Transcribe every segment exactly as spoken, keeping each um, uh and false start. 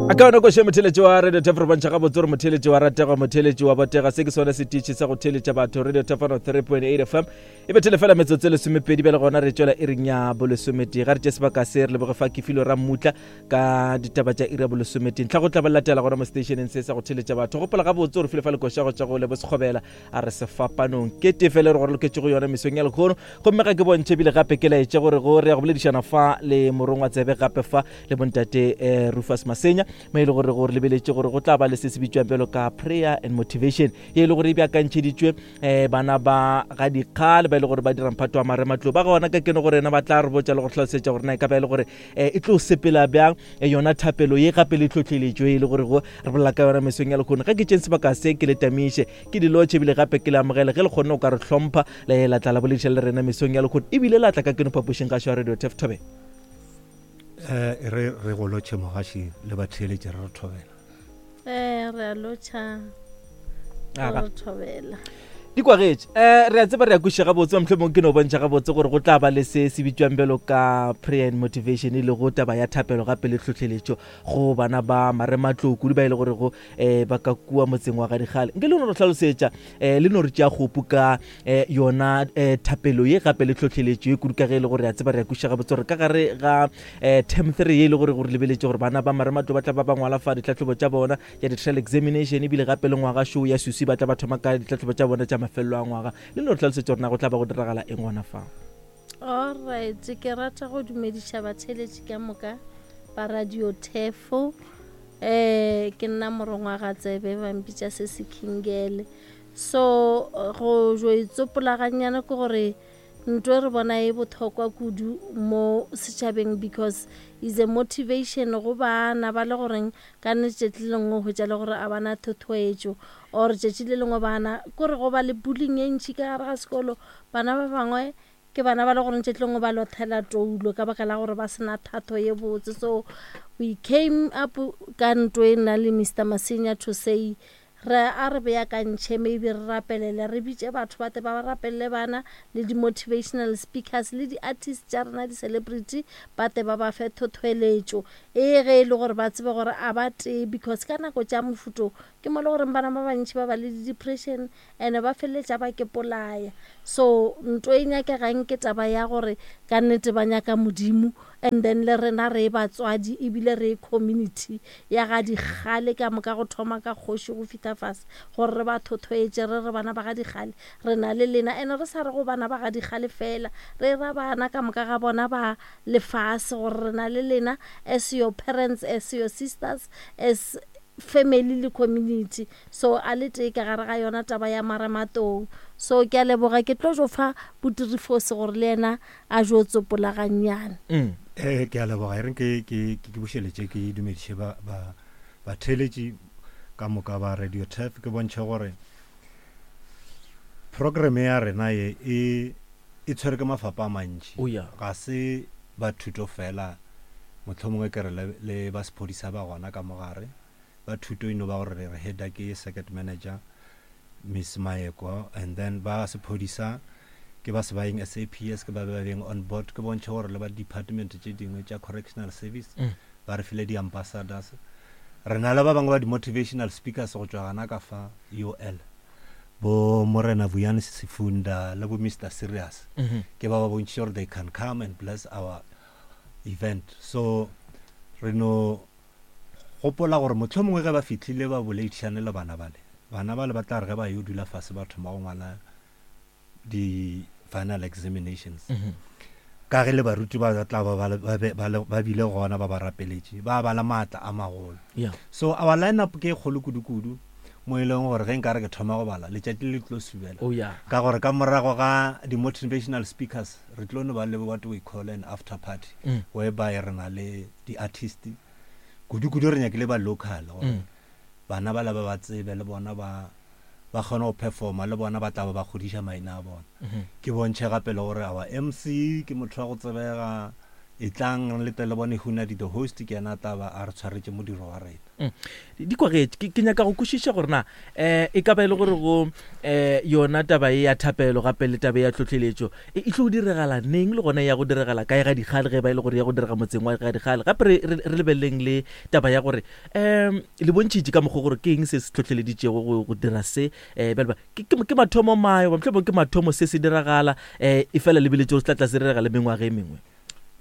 A ka yona koše motheletši wa Radio Tef, re bontšha gabotse gore motheletši wa ratega, motheletši wa botega. Se ke sone setiši sa go theletša batho, Radio Tef one oh three point eight F M. E bethele fela metsotso e lesomepedi bjale gona re tšwela iring ya bolesometee. Ga re tše sebaka se re leboge fa Kefilo Rammutla ka ditaba tša iri ya bolesometee. Ntlha go tla ba latela gona mo stationeng se sa go theletša batho. Gopola gabotse gore file fa lekoša go tša go lebo sekgobela a re sefapanong ke tefele re gore loketše go yona mesong ya lekgono. Gomme ga ke bontšhe ebile gape ke laetše gore go re ya go boledišana fa le morongwa tsebe gape fa le bontate eh, Rufus Masenya, mo e le gore gore lebeletše gore go tla ba le se se bitswang bjalo ka prayer and motivation, ye e le gore e beakantšheditšwe um bana ba ga dikgale ba e le gore ba dira mphato wa marematlou ba gona ka kene gore ena ba tla re botša le go hlalosetša gore na e ka ba e le gore um e tlo sepela bjang eh, yona thapelo ye gape le tlhotlheletšo e le gore go re bolela ka yona mesong ya lekgono. Ga ke tšeng sebaka se ke le tamiše ke di lotšhe ebile gape ke le amogele ge le kgonne go ka re hlompha le la tla la bolediša le rena mesong ya lekgono ebile la tla ka keno phapošeng ga šo ya Radio Tef. Thobe. Eh re re go lotšhe mogaši le batheeletši, re re thobela. Eh re a lotšha. Aga. Re thobela. Di kwagetše um re a tseba, re a kweša gabotse. Mohlomong ke no bontšha gabotse gore go tla ba le se se bitswang bjalo ka prayer and motivation, e lego taba ya thapelo gape le tlhotlheletšo go bana ba marematlou kudu ba e le gorego um ba ka kua motseng wa gadikgale. Nke le no re hlalosetša um le no re tšea kgopu ka um yona um thapelo ye gape le tlhotlheletšo ye kudu, ka ge e le gore re a tseba, re a kweša gabotse gore ka gare ga um term three ye e le gore gore lebeletše gore bana ba marematlou ba tla ba ba ngwala fa ditlhatlhobo tša bona tša di-trial examination, ebile gape le ngwaga šo ya susi ba tla ba thoma ka ditlhatlhobo tša bona tša mafelelo a ngwaga. Le no re hlalosetša gore na go tla ba go diragala eng gona fa. Alright, ke rata go dumediša batheeletši ka moka ba Radio Tefo. eh ke nna morongwa ga tsebe, ba mpitša se se kingele. So go jo itsopola gannyane ke gore ntho e re bona e botlhokwa kudu mo setšhabeng because is a motivation go bana ba le goreng ka nne tšatši le lengwe hwetša le gore a bana thothoetšo or tšatši le lengwe bana kore go ba le bullying e ntšhi ka gare ga sekolo. Bana ba bangwe ke bana ba le goreng tšatši lengwe ba lothela toulo ka baka la gore ba sena thato ye botse. So we came up ka nto e nna le Mister Masenya to say re a re beakantšhe, maybe re rapelele, re bitše batho ba te ba rapelele bana le di-motivational speakers le di-artist tša rena, di-celebrity, ba te ba ba fe thothoeletšo e ge e le gore ba tsebe gore a ba tee, because ka nako tša mofuto ke mo le goreng bana ba bantšhi ba ba le di-depression and ba feleletša ba ke polaya. So nto e nyakegang ke taba ya gore ka nnete ba nyaka Modimo, and then le rena re batswadi ebile re community ya ga dikgale ka moka, go thoma ka kgoši go fihla fase, gore re ba thothoetše, re re bana ba ga dikgale re na le lena. And re sa re go bana ba ga dikgale fela, re ra bana ka moka ga bona ba lefase gore re na le lena as your parents, as your sisters, as family le community. So a le tee ka gare ga yona taba ya marematlou. So ke a leboga, ke tlo jo fa botirifose gore le yena a jo tsopola gannyane. Mm. Eh ke a leboga. E reng ke ke ke bušeletše ke dumediše ba ba batheeletši ka moka ba Radio Tef. Ke bontšhe gore program ya rena ye e e tshwere ke mafapa a mantši. Oh, yeah. Ga se ba thuto fela, mohlomongwe ke re le, le ba sephodisa ba gona ka mogare. Ba thuto e no ba gore re re header ke circuit manager Miss Maeko, and then ba sephodisa ke ba Sebayeng S A P S, ke ba ba beng on board. Ke bontšhe gore le ba department tše dingwe tša correctional service Mm. ba re file di-ambassadors. Re na le ba bangwe ba di-motivational speakers go tšwa gana ka fa U L, bo Morena Vuyani Sefunda le bo Mister Serious, Mhm. ke ba ba bontšhitše gore they can come and bless our event. So re no gopola gore mohlomongwe ge ba fihlile ba boledišane le bana bale, bana bale ba tla re ge ba yo dula fase ba thoma go ngwala di-final examinations, Mhm. ka ge le baruti ba tla ba ba le- ba be- ba le- ba bile gona ba ba rapeletše, ba ba le maatla a magolo. Yeah. So our lineup ke e kgolo kudu-kudu mo e leng gore ge nka re ke thoma go bala letšatši le tlo subela, Oh yeah. ka gore ka morago ga di-motivational speakers re tlo no ba le what we call an after party, Mm. whereby re na le di-artist, kudu-kudu re nyakile ba local gore Mm. bana ba le ba ba tsebe le bona ba ba kgone go performa, le bona ba tla ba ba godiša maina a bona. Mhm. Ke bontšhe gape le gore our M C ke motho wa go tsebega, E tlang le tle le bone Hunadi the host, ke yena a tla ba a re tshwaretše modiro wa rena. Mm. Di kwagetše. Ke, ke nyaka go kwešiša gore na um e ka ba e le gore go um yona taba e ya thapelo gape le taba e ya tlhotlheletšo e e tlo diregala neng, le gona e ya go diregala kae ga dikgale, ge ba e le gore ya go direga motseng wa ga dikgale. Gape re, re, re lebeleleng le taba ya gore um le bontšhitše ka mokgwa gore ke eng se se tlhotlheleditšego go, go dira se um bjale ba ke, ke, ke mathomo mayo, mohlomongwe ke mathomo se se diragala um e fela lebeletše gore se tla tla se direga le mengwaga e mengwe.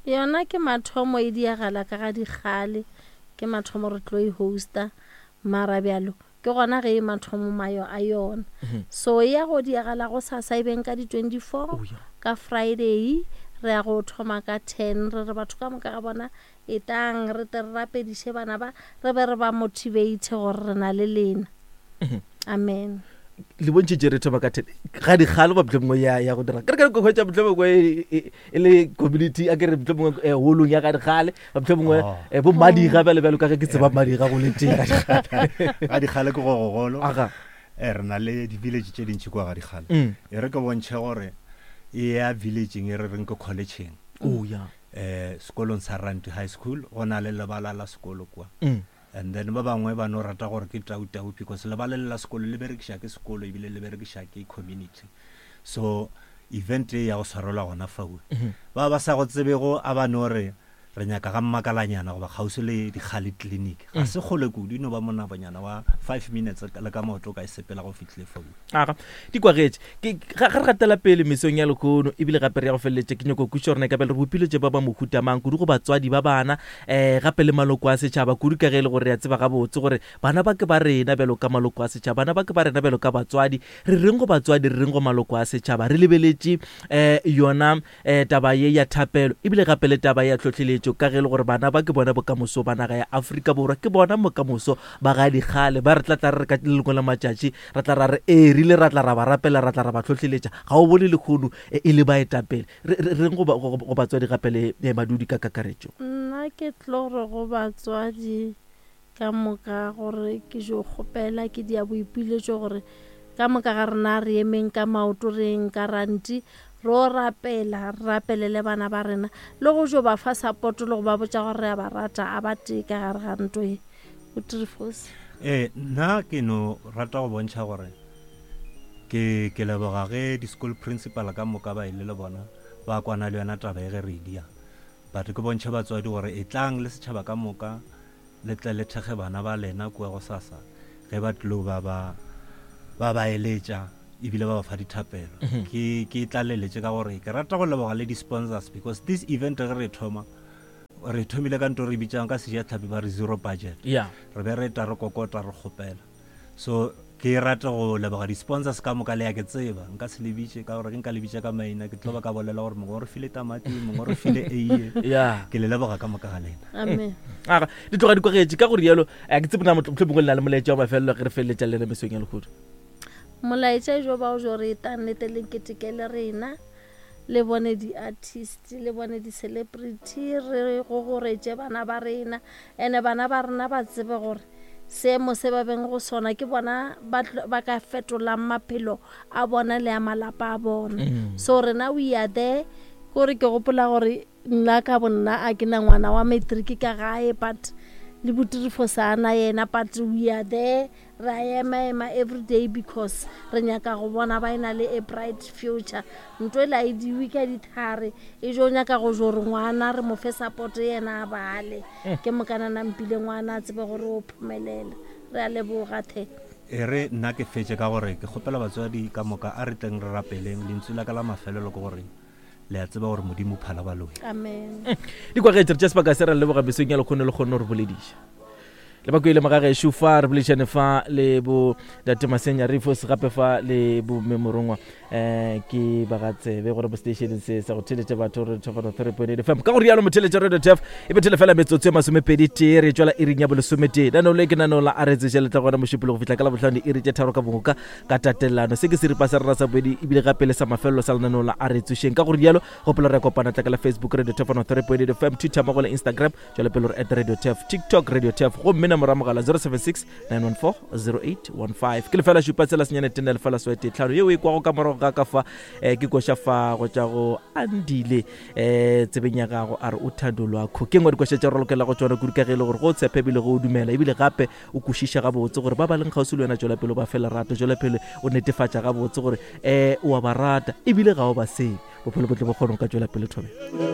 Yona ke mathomo e diagala ka ga dikgale, ke mathomo re tlo e hosta, mara bjalo ke gona ge e mathomo mayo a yona. So e ya go diagala go sasa e beng ka di twenty-four Oh, yeah. ka Friday, re ya go thoma ka ten, re re batho ka moka ga bona e tang re tle re rapediše bana ba, re be re ba motivate gore re na le lena. Amen. Le bontšhitše re thoma ka ten ga dikgale ba mohlomongwe ya, ya go dira ke re ka hwetša mohlomongwe e, e, e le community, a ke re mohlomongwe, eh, holong ya ga dikgale, ba mohlomongwe, Oh. eh, bo Madiga bjale bjalo ka ge ke tseba Madiga go le teng ga dikgale. Ga dikgale ke go gogolo. Aga. Eh, re na le di-village tše dintši kua ga dikgale. Mm. E re ke bontšhe gore e ya villageng e re reng ke collegeng. Oh, ya. Eh, sekolong sa Ranti High School, go na le lebala la sekolo kua. Mm. And then ba bangwe ba no rata gore ke tau tau because lebala le la sekolo le berekiša ke sekolo ebile le berekiša ke community. So event e ya go swarelwa gona fao. Mhm. Ba ba sa go tsebego a ba no re re nyaka ga mmakalanyana goba kgauswi le Dikgale clinic. Ga Mm. se kgole kudu, e no ba monabonyana wa five minutes le ka maoto o ka e sepela go fihlile fao. Aga, di kwagetše. Ke, ga, ga re gatela pele mesong ya lehono, ebile gape re ya go feleletša, ke nyako kwešiša gore na e ka ba le re bopile tše ba ba mohuta mang, kudu go batswadi ba bana, eh, gape le maloko a setšhaba, kudu ka ge e le gore re a tseba gabotse gore bana ba ke ba rena bjalo ka maloko a setšhaba, bana ba ke ba rena bjalo ka batswadi. Re reng go batswadi, re reng go maloko a setšhaba, re lebeletše, eh, yona, eh, taba ye ya thapelo, ebile gape le taba ya tlhotlheletšo, ka ge e le gore bana ba ke bona bokamoso ba naga ya Afrika Borwa, ke bona bokamoso ba ga dikgale, ba re tla tla re re ka le lengwe la matšatši re tla ra re ee, re ile ra tla ra ba rapela, ra tla ra ba tlhotlheletša. Ga o bone lehono, e, e le baetapele. Re, re, re reng go ba, go, go batswadi gape le, eh, badudi ka kakaretšo? Nna ke tlo re go batswadi ka moka gore ke jo kgopela, ke dia boipiletšo gore ka moka ga rena re emeng ka maoto, re eng ka ranti, ro rapela, re rapelele bana ba rena, le go jo ba fa support le go ba botša gore re a ba rata, a ba tee ka gare ga ntlo e. O Trifos. Eh, nna ke no rata go bontšha gore ke, ke leboga ge di-school principal ka moka ba ile le bona ba kwana le yona taba e ge re e dia. But ke bontšhe batswadi gore e tlang le setšhaba ka moka le tle le thekge bana ba lena kua go sasa ge ba tlilo ba ba, ba ba eletša ebile ba ba fa dithapelo. Mhm. Ke, ke tlaleletše ka gore ke rata go leboga le di-sponsors because this event ge re thoma, re thomile ka nto re bitsang ka sejatlhapi ba re zero budget. Yeah. Re be re ta re kokota re kgopela. So ke rata go leboga di-sponsors ka moka, le ya ke tseba nka se le bitše ka gore ke nka le bitša ka maina ke tlo ba ka bolela gore mongwe o re file tamati, mongwe o re file eiye. Yeah. Ke le leboga ka moka ga lena. Amen. Aga, di tloga di kwagetše ka gore jalo, eh, ke tsebe na motho mohlomongwe le na le molaetša wa mafelelo ge re feleletša le lena mesong ya lehono. Molaetša jo ba o jo re etang nnete le keteke le rena, le bone di-artist, le bone di-celebrity, re gogoretše bana ba rena. Ene bana ba rena ba tsebe gore seemo se ba beng go sona ke bona ba tlo, ba ka fetolang maphelo a bona le a malapa a bona. Mm. So rena we are there. Kore ke gopola gore nna ka bonna a ke na ngwana wa matric ka gae, but le botirifo sa na yena, but we are there, ra ema ema every day because re nyaka go bona ba ena le a bright future. Ntho e la e diwe ka dithare, e jo nyaka go jo re ngwana re mo fe support yena a bale. Mm. Ke mokana nampile ngwana a tsebe gore o phomelela. Re a leboga the. E re nna ke fetše ka gore ke kgopela batswadi ka moka a re tleng re rapeleng. Lentswe la ka la mafelelo ke gore le a tseba gore Modimo o phala baloi. Amen. Mm. Di kwagetše, re tša sebaka se re leboga mesong ya lekgono le kgonne go re bolediša. Le ba kwele magagešo fa re boledišane fa le bo Tate Masenya Rifos, gape fa le bo Mme Morongwa, eh, ke ba ga tsebe gore bo stationeng se sa go theletša batho re thofano three point eight F M. Ka go rialo motheletša Radio T F e bethele fela metsotso e masomepedi tee, re tšwela iring ya bolesometee. Nano le ke nano la a re tseša le tla gona mošupologo go fihla ka Labohlano diiri tše tharo ka moka ka tatelano. Se ke seripa sa rena sa bobedi ebile gape le sa mafelelo sa lenaneo la a re tsošeng. Ka go rialo gopola re kopana tla ka la Facebook Radio T F three point eight F M, Twitter mmogo le Instagram, tšwela pele re at Radio T F, TikTok Radio T F, gomme nomoro ya mogala zero seven six nine one four zero eight one five. Ke lefela šupa tsela senyane tene lefela sewete tlhano yeo e kwago ka morago ga ga ka fa um ke koša fa go tša go Andile um tsebeng ya gago, a re o thando lwakho. Ke ngwe dikoša tša go lokela go tsona kudu, ka ge e le gore go tshepe ebile go o dumela, ebile gape o kwešiša gabotse gore ba ba leng kgauswi le wena, tšwela pele o ba fe lerato, tšwela pele o netefatša gabotse gore um o a ba rata ebile ga o ba sebe, bophelo bo tle bo kgone go ka tšwela pele. Thobe.